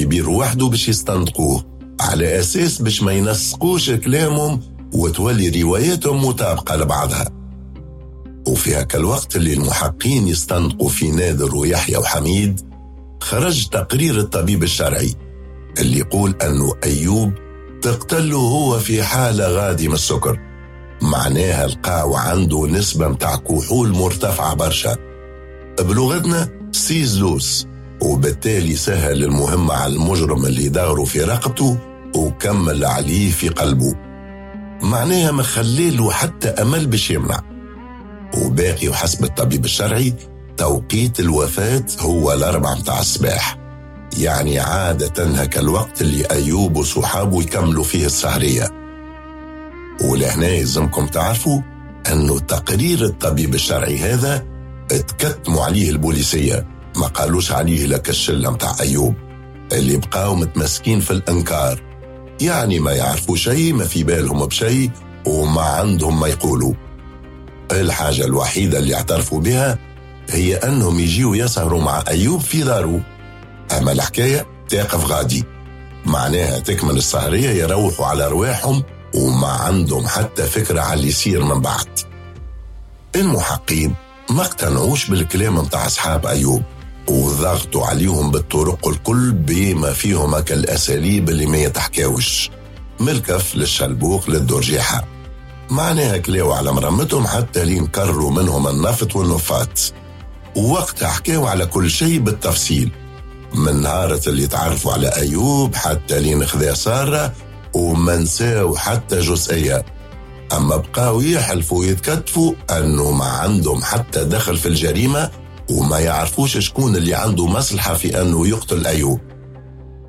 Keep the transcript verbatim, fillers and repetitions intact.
بيرو وحده باش يستنطقوه، على أساس باش ما ينسقوش كلامهم وتولي رواياتهم مطابقة لبعضها. وفي هكا الوقت اللي المحقين يستنطقوا في نادر ويحيى وحميد، خرج تقرير الطبيب الشرعي اللي يقول أنه أيوب تقتله هو في حالة غادي من السكر، معناها لقاو عنده نسبة متاع كحول مرتفعة برشا، بلغتنا سيزلوس، وبالتالي سهل المهمة على المجرم اللي داره في رقبته وكمل عليه في قلبه، معناها ما خليله حتى أمل باش يمنع. وباقي وحسب الطبيب الشرعي توقيت الوفاة هو الأربعة متاع الصباح، يعني عادة هكا الوقت اللي أيوب وصحابه يكملوا فيه السهرية. ولهنا يلزمكم تعرفوا أنه تقرير الطبيب الشرعي هذا اتكتموا عليه البوليسية، ما قالوش عليه لك الشلة متاع أيوب اللي بقاو متمسكين في الإنكار، يعني ما يعرفوا شيء، ما في بالهم بشيء، وما عندهم ما يقولوا. الحاجة الوحيدة اللي اعترفوا بها هي أنهم يجيوا يسهروا مع أيوب في داره، أما الحكاية تقف غادي، معناها تكمل السهرية يروحوا على رواحهم وما عندهم حتى فكرة على اللي يصير من بعد. المحقين ما اقتنعوش بالكلام متاع أصحاب أيوب وضغطوا عليهم بالطرق الكل بما فيهم كالأساليب اللي ما يتحكاوش، من الكف للشلبوق للدرجيحة، معناها كلاو على مرمتهم حتى لين كرروا منهم النفط والنفات. ووقتها حكاو على كل شيء بالتفصيل، من نهارة اللي تعرفوا على أيوب حتى لين خذا سارة، وما نساو حتى جزئية. أما بقاو يحلفوا ويتكتفوا أنه ما عندهم حتى دخل في الجريمة وما يعرفوش شكون اللي عنده مصلحة في أنه يقتل أيوب.